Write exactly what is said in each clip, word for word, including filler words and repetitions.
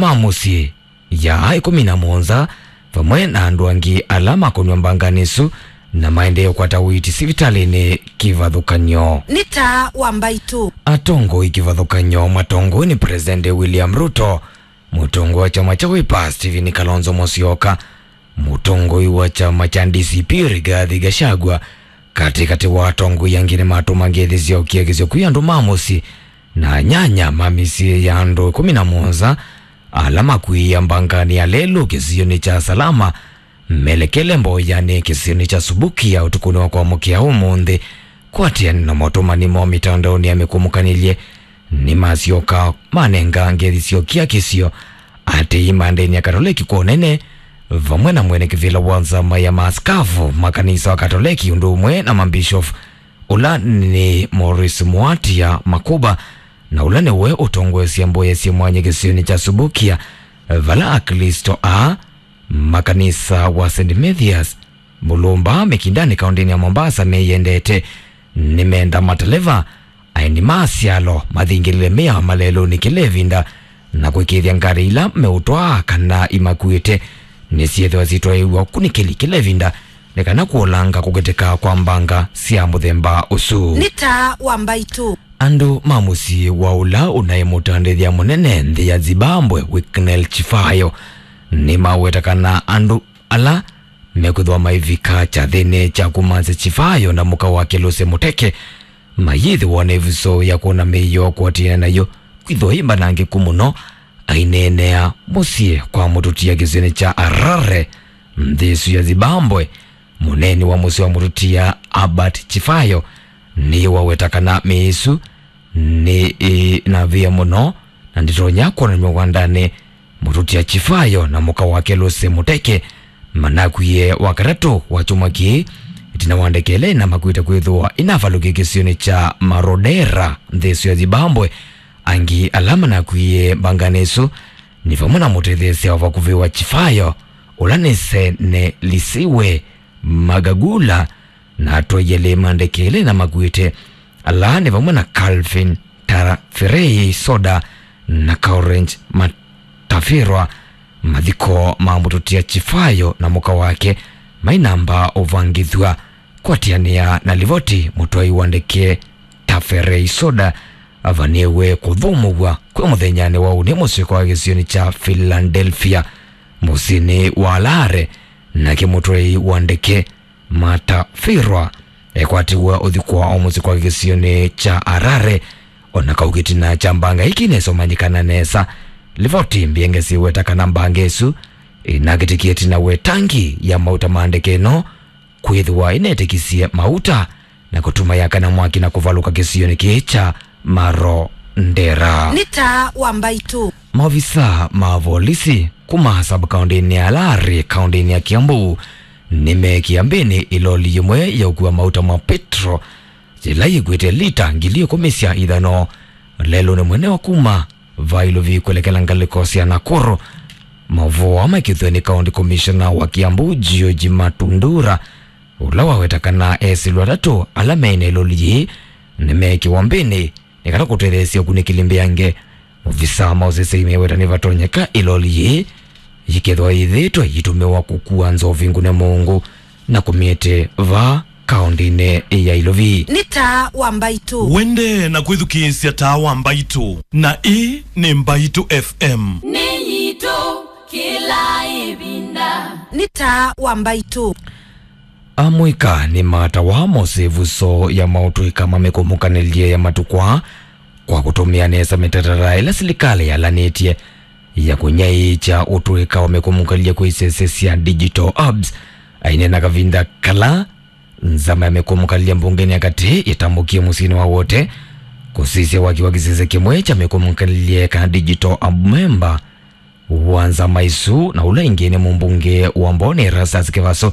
ma mũsyĩ ya ĩkũmi na mũonza, vamwe na andũ angĩ ala makonw'a mbanganĩ ĩsu na maendee kũkwata ũiiti sivitalĩnĩ kĩvathũkany'o. Nĩ Taa wa Mbaitũ. Atongoi kĩvathũkany'o matongoi nĩ President William Ruto, mũtongoi wa kyama kya Wiper Stephen Kalonzo Musyoka, mũtongoi wa kyama kya D C P Rigathi Gachagua, katĩkatĩ wa atongoi angĩ nĩmatũma ngethi sya ũkiakisyo kwĩ andũ ma mũsyĩ na anyanya ma mĩsyĩ ya andũ ĩkũmi na mũonza ala makw'ĩĩa mbanganĩ ya lelũ kĩsionĩ kya Salama, melekele mboyanĩ kĩsionĩ kya Subukia ũtukũnĩ wa kwamũkĩa ũmũnthĩ. Kwatĩanĩ na motũmani moo mĩtandaonĩ ya mĩkũmũkanĩlye, nĩmasyoka manenga ngethi sya ũkiakisyo atĩĩi ma ndĩni ya Katoleki kwa ũnene, vamwe na mwene kĩvĩla wa nzama ya maaskavu ma kanisa wa Katoleki, ũndũ ũmwe na mambishofu, ũla nĩ Maurice Muatia Makuba, na ũla nĩwe ũtongoesya mboya syĩ mwanya kĩsionĩ kya Subukia, vala Aklĩsto aa ma kanisa wa Saint Mathias Mulumba Mĩkindanĩ kaũndĩnĩ ya Mombasa meyendete. Nĩmenda mateleva, aeni ma asyalo mathingĩlĩle mĩao malelũnĩ kĩla ĩvinda, na kũĩkĩĩthya ngarĩ ila meũtwaa kana imakuĩte nĩsyĩthĩwa syĩtwaĩĩw'a ũkunĩkĩli kĩla ĩvinda, nĩ kana kũolanga kũkĩtĩka kwa mbanga sya mũthemba ũsu. Nĩ Taa wa Mbaitũ. Andũ ma mũsyĩ wa ũla ũnaĩ mũtandĩthya mũnene nthĩ ya Zimbabwe, Wicknell Chifayo, nĩmaweta kana andũ ala mekwĩthĩwa maivika kyathĩnĩ kya kũmantha Chifayo na mũka wake Lucy Muteke mayĩthĩwa na ĩvuso ya kwona mĩio kũatĩana nayo kwĩthĩwa ĩ mbanangĩku mũno. Aineenea mũsyĩ kwa mũtũtia kĩsionĩ kya Harare, nthĩ ĩsu ya Zimbabwe, mũneeni wa mũsyĩ wa mũtũtia Albert Chifayo nĩwaweta kana mĩĩ ĩsu nĩ ĩ na via mũno na ndĩtonya kwonanw'a wandanĩ. Mũtũtia Chifayo na mũka wake Lucy Muteke manakwie Wakatatũ wa kyumwa kĩĩ, ĩtina wa ndeke ĩla ĩnamakuĩte kwĩthĩwa ĩnavalũkie kĩsionĩ kya Marondera, nthĩ ĩsu ya Zimbabwe. Angĩ ala manakwie mbanganĩ ĩsu nĩ vamwe na mũtetheesya wa vakuvĩ wa Chifayo, ũla nĩ Senelisiwe Magagula, na atwaie lĩĩ ma ndeke ĩla ĩnamakuĩte, ala nĩ vamwe na Calvin Taferei Soda na Courage Matafirwa. Mathiko ma mũtũtia Chifayo na mũka wake mainamba ũvangĩthw'a. Kwatĩanĩa na livoti, mũtwai wa ndeke Taferei Soda avanĩwe kũthũmũw'a kwĩ mũthenyanĩ wa ũnĩ mũsyĩ kwa kĩsionĩ kya Philadelphia, mũsyĩnĩ wa Harare, nake mũtwai wa ndeke Matafirwa ekwatiwe ũthikwa o mũsyĩ kwa kĩsionĩ kya Harare, o na kau kĩtina kya mbanga ĩkĩ nĩsomanyĩkana nesa. Livoti mbingĩ siweta kana mbanga ĩsu ĩnakĩtĩkie ĩtina wa ĩtangi ya mauta ma ndeke ĩno kwĩthĩwa ĩnetĩkisye mauta na kũtuma yakana mwaki na kũvalũka kĩsionĩ kĩĩ kya Marondera. Nĩ Taa wa Mbaitũ. Maovisa ma volisi kuma sub-kaũndĩnĩ ya Harare, kaũndĩnĩ ya Kiambu, nĩmeekie mbĩnĩ ĩloli yĩmwe ya ũkua mauta ma petro yĩla yĩkuĩte lita ngili ĩkũmi sya ithano lelũnĩ mũnene wa kuma va Ilovi kwelekela ngalĩko sya Nakuru. Maũvoo aa maikĩthw'a nĩ County Commissioner wa Kiambu, George Matundura, ũla waweta kana esĩlũ atatũ ala meĩ na ĩloli yĩĩ nĩmeekĩwa mbĩnĩ nĩ kana kũtetheesya ũkunĩkĩli mbeange. Ovisa ma ũseseĩ meweta nĩvatonyeka ĩloli yĩĩ yĩkethĩwa yĩthĩĩtwe yĩitũmĩwa kũkua nzovi ngune mũungu na kũmĩete vaa kaũndĩnĩ ya Ilovi. Nĩ Taa wa Mbaitũ. Wendee na kwĩthukĩĩsya Taa wa Mbaitũ, na ĩĩ nĩ Mbaitũ F M. Nĩ yitũ kĩla ĩvinda. Nĩ Taa wa Mbaitũ. Amũika nĩmatawa mose ĩvuso ya maũtũĩka ma mĩkũmũkanĩlye ya matukũ aa kwa kũtũmĩa nesa mĩtatatara ĩla silikalĩ yalanĩtye ya kũnyaĩĩkya ũtũĩka wa mĩkũmũkalĩlye kwĩ isese sya digital hubs. Aineena kavinda kala nzama ya mĩkũmũkalĩlye mbungenĩ ya katĩ yĩtambũkie mũsyĩnĩ wa Wote kũsisya waki wa kĩsese kĩmwe kya mĩkũmũkalĩlye kana digital hub member wa nzama ĩsu, na ũla ĩngĩ nĩ mũmbunge wa Mboni Erastus Kĩvaso,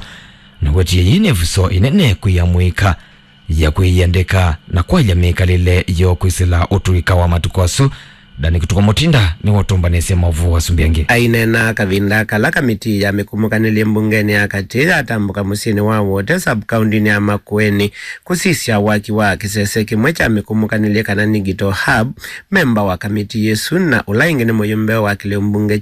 na wetie yĩĩ nĩ ĩvuso ĩnene kwĩ amũika ya kwĩyĩandĩka na kwaĩlya mĩkalĩle yoo kwĩsĩla ũtũĩka wa matukũ asu. Ndani Kĩtuko Mũtinda nĩwe ũtũmbanĩsye maũvoo asu mbingĩ. Aineena kavinda kala kamitii ya mĩkũmũkanĩlye mbungenĩ ya katĩ yatambũka mũsyĩnĩ wa Wote sub-kaũndĩnĩ ya Makueni kũsisya waki wa kĩsese kĩmwe kya mĩkũmũkanĩlye kana digital hub, memba wa kamitii ĩsu na ũla ĩngĩ nĩ mũyũmbe wa kĩlĩo mbunge